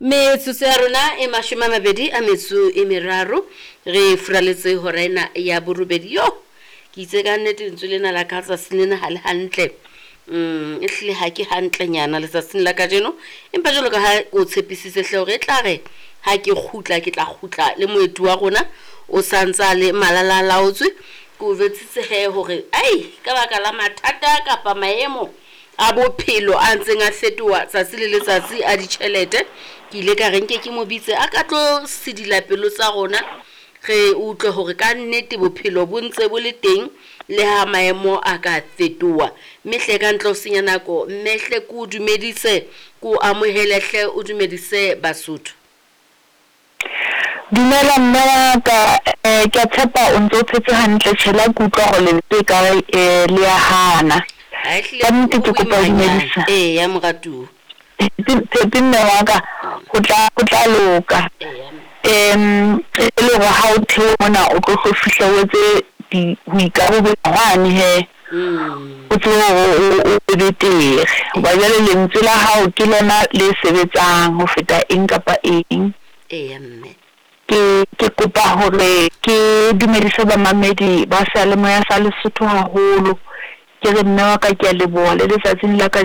Metsotso ya rona e 23 re furaletse hora ena ya borobedi. Yo, ke itse ka nnete lentswe lena la ka tsatsing lena ha le hantle. E hlile ha ke hantlenyana letsatsing la kajeno, empa jwalo ka ha o tshepisitse hle hore e tla re ha ke kgutla, ke tla kgutla le moeti wa rona o santsa le malala laotswe. Ke o jwetsitse he hore ai ka baka la mathata kapa maemo a bophelo a ntseng a fetoha tsatsi le letsatsi a ditjhelete, ke ile ka re nke ke mo bitse a ka tlo sedila pelo tsa rona, re utlwe hore ka nnete bophelo bo ntse bo le teng le ha maemo a ka fetoha. Mme hle ka ntle ho senya nako, mme hle ke o dumedise, ke o amohele hle, o dumedise Basotho. Dumela mme wa ka, ke a tshepa o ntso o phetse hantle. Tjhe le ha ke utlwa hore lentswe ekare le ya hana. Ha ehlile Ka nnete ho ke kopa ho boimanyana. dumedisa. Eya moratuwa. Tshepe mme wa ka, ho tla ho tla loka. Eya mme. E le hore ha o theoha mona o tlo hlo fihla o etse di ho ikarobela hwane hee. O tsebe hore o be betere. Hoba jwale lentswe la hao ke lona le sebetsang ho feta eng kapa eng. Eya mme. Ke kopa hore ke dumedise bamamedi ba seyalemoya sa Lesotho haholo. Ke re mme wa ka ke a leboha le letsatsing la kajeno.